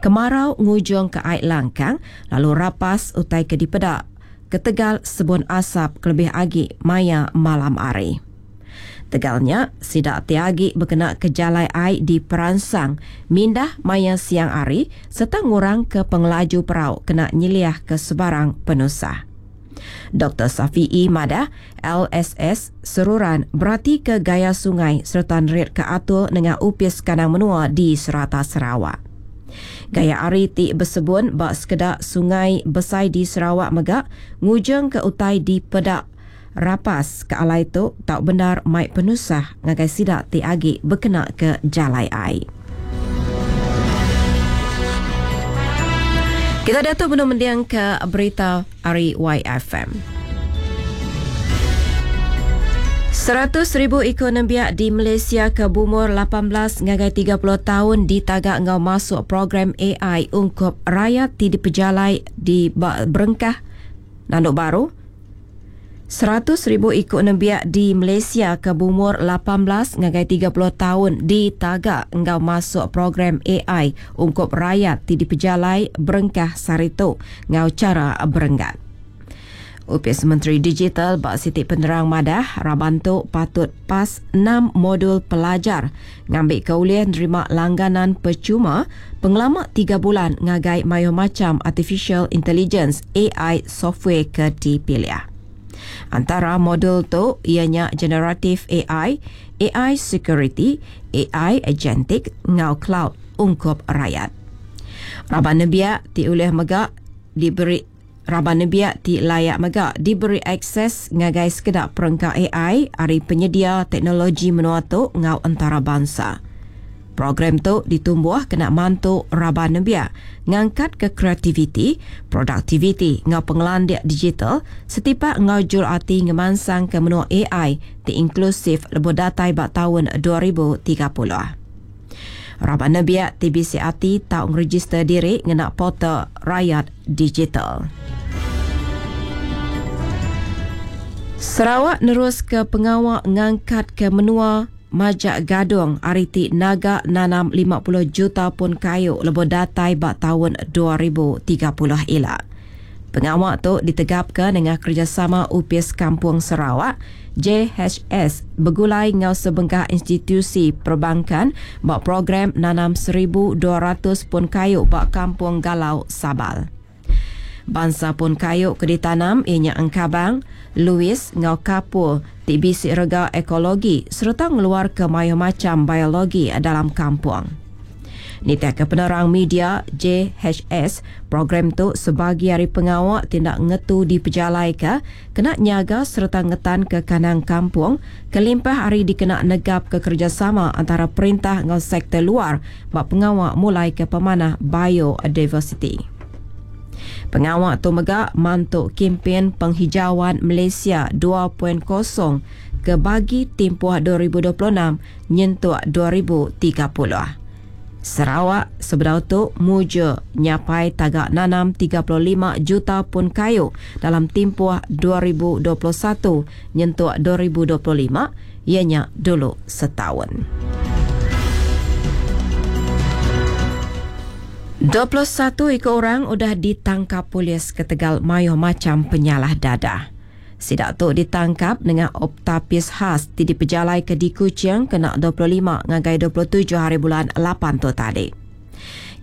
Kemarau ngujungka ai langkang lalu rapas utai ke dipeda ketegal sebun asap kelebih agi maya malam hari. Tegal nya, sida ti agi bekenaka jalai ai diperansang mindah maya siang hari sereta ngurangka pengelaju perau kena nyeliahka sebarang penusah. Doktor Safiee madah, LSS seruran beratika gaya sungai sereta neritka atur nengah opis kandang menua di serata Sarawak. Gaya hari ti besebun ba sekeda sungai besai di Sarawak mega ngujungka utai dipeda rapas ke alai tu tau bendar mai penusah ngagai sida ti agi bekenaka jalai ai. Kita diatu benung mendingka berita ari YFM. 100,000 iku nembiak di Malaysia ke beumur 18 ngagai 30 taun ditaga enggau masuk program AI ungkup rayat ti dipejalai di ba berengkah nandu baru 100,000 iku nembiak di Malaysia ke beumur 18 ngagai 30 taun ditaga enggau masuk program AI ungkup rayat ti dipejalai berengkah sehari tu enggau chara berenggat. Opis Menteri Digital ba siti penerang madah raban tu patut pas enam modul pelajar ngambika ulih nerima langganan pechuma pengelama tiga bulan ngagai mayuh macham Artificial Intelligence, AI, software ke dipilih. Antara modul tu iya nya Generative AI, AI Security, AI Agentic enggau Cloud ungkup rayat. Raban nembiak ti ulih mega diberi Raban nembiak ti layak mega diberi akses ngagai sekeda perengka ai ari penyedia teknologi menua tu enggau entarabansa. Program tu ditumbuh kena mantu raban nembiak ngangkatka kreativiti, produktiviti enggau pengelandik digital setipak enggau jul ati ngemansangka menua ai ti inklusif lebuh datai ba taun 2030. Raban nembiak ti bisi ati tau ngerejister diri ngena portal Rayat Digital. Sarawak neruska pengawa ngangkatka menua majak gadung ari ti naga nanam 50 juta pun kayu lebuh datai ba taun 2030 ila. Pengawa tu ditegapka nengah kerejasama Opis Kampung Sarawak, JHS, begulai enggau sebengkah institusi perbankan ba program nanam 1,200 pun kayu ba Kampung Galau, Sabal. Bansa pun kayu ke ditanam iya nya engkabang, luis enggau kapur ti bisi rega ekologi sereta ngeluarka mayuh macham biologi dalam kampung. Nitihka penerang media JHS, program tu sebagi ari pengawa ti enda ngetu dipejalaika kena nyaga sereta ngetanka kandang kampung kelimpah ari dikena negapka kerejasama antara perintah enggau sektor luar ba pengawa mulaika pemanah biodiversiti. Pengawa tu mega mantu Kimpin Penghijauan Malaysia 2.0 ke bagi timpuh 2026 nyentuk 2030. Sarawak sebedau tu mujur nyapai taga nanam 35 juta pun kayu dalam timpuh 2021 nyentuk 2025 iya nya dulu setaun. 21 iku orang udah ditangkap polis ketegal mayuh macham penyalah dadah. Sida tu ditangkap nengah Op Tapis Khas ti dipejalaika di Kuching kena 25 ngagai 27 haribulan lapan tu tadi.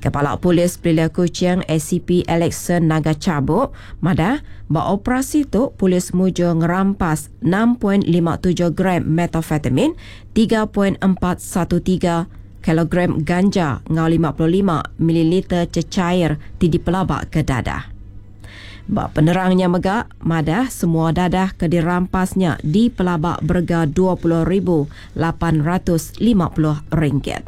Kepala Polis Pelilih Kuching ACP Alexson Naga Chabuk madah, ba operasi tu polis mujur ngerampas 6.57 gram methamphetamine, 3.413 kilogram ganja enggau 55 mililiter cecair ti dipelabaka dadah. Ba penerang nya mega madah semua dadah ke dirampas nya dipelaba berega 20,850 ringgit.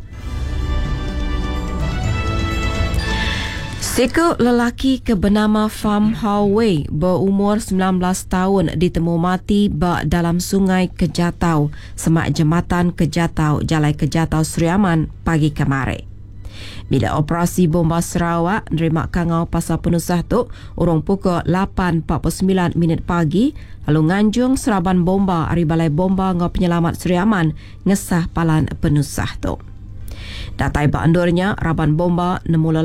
Siku lelaki ke benama Pham Hao Wei beumur 19 taun ditemu mati ba dalam Sungai Kejatau semak Jematan Kejatau Jalai Kejatau Sri Aman pagi kemari. Bila Operasi Bomba Sarawak nerima kangau pasal penusah tu urung pukul 8.49 minit pagi lalu nganjung seraban bomba ari Balai Bomba enggau Penyelamat Sri Aman ngesah palan penusah tu. Datai ba endur nya, raban bomba nemu lelaki.